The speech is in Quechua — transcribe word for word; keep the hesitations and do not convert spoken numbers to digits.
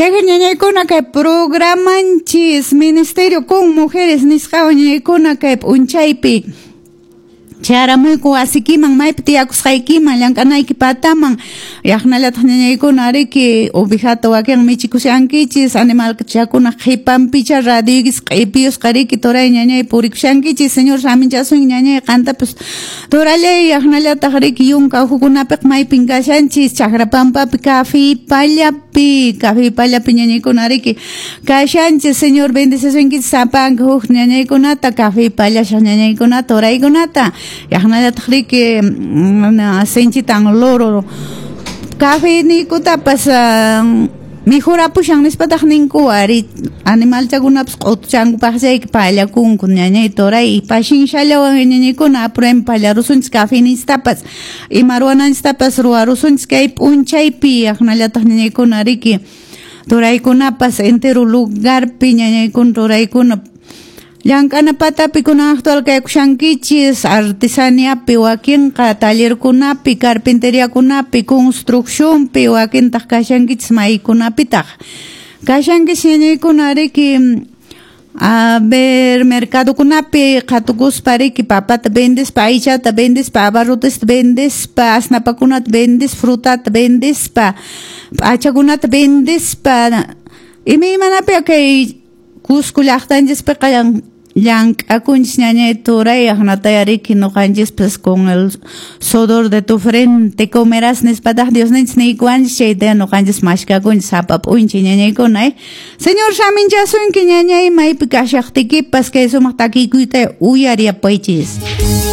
Chayqa ñañaykuna kay programanchis Ministerio con Mujeres nisqawan ñañaykuna kay p'unchaypi charamuyku wasikiman maypi tiyakusqaykiman llank'anayki pataman yaqnallataq ñañaykuna riki ovejata wakin michikushankichis animalchakuna qhipanpicha radioykis q'ipiyusqa riki turay ñañay purikushankichis Señor saminchasun ñañay qantapas turallay yaqnallataq riki yunka uhukunapiq maypin kashanchis chakra pampapi kafi pallapi kafi pallapi ñañaykuna riki kashanchis Señor bendecisunkichis sapanka huk ñañaykunata kafi pallashaq ñañaykunata turaykunata yaqnallataq riki sinchitan loro café nikutapas mijurapushan nispataq ninku ari animalchakunapas q'utuchankupaq chayki pallakunku ñañay turay pashinshallawan ñañaykuna apruem pallarusunchis café nistapas ima ruwananchistapas ruwarusunchis kay p'unchaypi yaqnallataq ñañaykuna riki turaykunapas entero lugarpi ñañaykuna turaykuna llank'ana patapi kunan actual kaykushankichis artesaniapi wakinqa tallerkunapi carpinteriakunapi construccionpi wakintaq kashankichis maykunapitaq kashankichis ñañaykuna riki a ver mercadokunapi qhatukuspa riki papata vendespa aychata vendespa abarrotesta vendespa asnapakunata vendespa frutata vendespa p'achakunata vendespa imaymanapi kay Cusco llaqtanchispiqa llank'akunchis ñañay turay aqnataya riki ñuqanchispas con el sudor de tu frente comerás nispataq Diosninchis niykuwanchis chayta ñuqanchis mashkakunchis sapa p'unchay ñañaykuna eh Señor saminchasunki ñañay maypi kashaqtikipas kay sumaq takiykuyta uyariyapaychis.